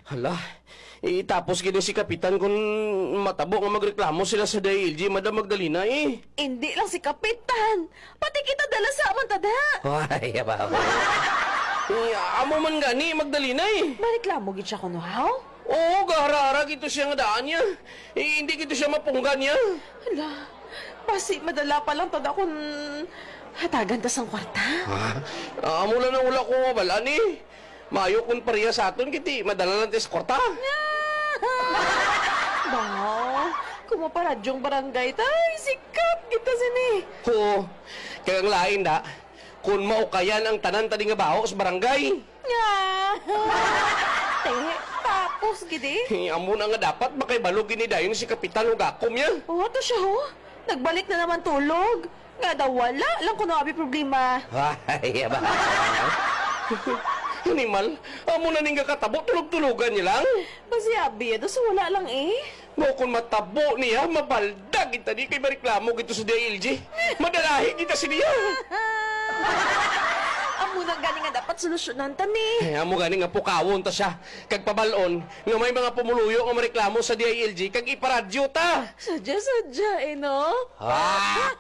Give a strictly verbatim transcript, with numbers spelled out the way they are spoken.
Hala, itapos gid si Kapitan kung matabo nga magreklamo sila sa D I L G, Madam Magdalena, eh. Indi lang si Kapitan, pati kita dala sa man ta da. Ay, abaw. Eh, amo man gani, Magdalena, eh. Mareklamo gid siya kuno, haw? Oo, gahara-hara gid to siya nga daan niya. Eh, hindi gid to siya mapunggan niya. Hala, basi madala pa lang ta da kun hatagan ta sang kwarta. Ah, amo lang ang wala ko mabalaan, eh. Maayo kung pareha sa aton, kiti madala lang tis kwarta. Baw, kung maparadyong barangay, tay, sikat kita sini. Oo, kag ang lain da, kung maukayan ang tanan tani nga baho sa barangay. Nga. Te, tapos gid eh. Amo na nga dapat makaibalog gini dayon si Kapitan ug ako niya. Oh, to siya, oh. Nagbalik na naman tulog. Nga daw wala lang kuno abi problema. Ay, ba? Animal, amo na ning gakatabo, tulog-tulogan niya lang. Basi abi, daw sa wala lang eh. Mo kung matabo niya, mabaldag kita di kay mareklamo gito sa D I L G. Madalahi kita sa niya. Amo na gani nga dapat solusyonan ta ni. Ay, amo gani nga pukawon ta siya. Kag pabalon nga may mga pumuluyo nga mareklamo sa D I L G kag iparadyo ta. Sadya-sadya eh, no? Ah!